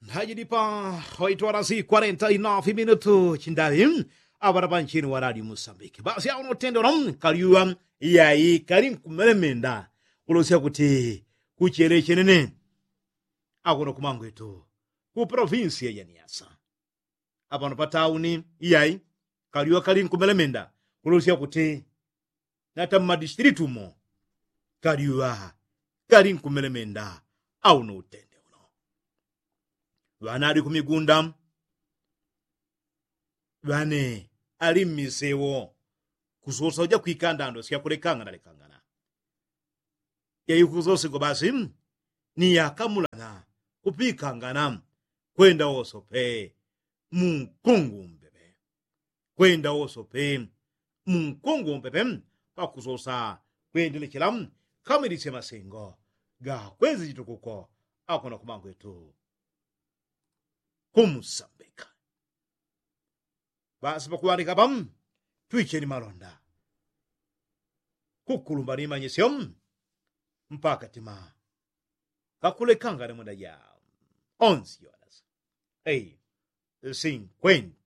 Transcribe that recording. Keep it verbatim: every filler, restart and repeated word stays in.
Hajidi pa waitwala si kwarenta inafi minutu chindaŵi. Aŵana panchini waradi musambiki basi awo notendela kalyuŵa. Iyayi kali nkumelemenda kulosya kuti kuchele chenene. Akuno kumangwetu ku provinsi ya janiyasa apano patauni. Iyayi kalyuŵa kali nkumelemenda kulosya kuti nata mmadistilitu mo kalyuŵa kali nkumelemenda. Auno utende uno ŵana ali kumigunda ŵane ali mmisewo kusosa uja kwikandando syakulekangana lekangana. Yaikusosego basi ni yakamulana kupikangana kwenda wosope mu nkungu mpepe. Kwenda wosope mu nkungu mpepe pakusosa kwendelechela kamwilisye masengo ga kwezi chitukuko. Akona kumangwetu kumusambika basi pakuŵandika pa twicheni malonda kukulumba ni manyisyo mpaka tima kakulekangana mwenda ja onsi yonasi. Ei sinkwenda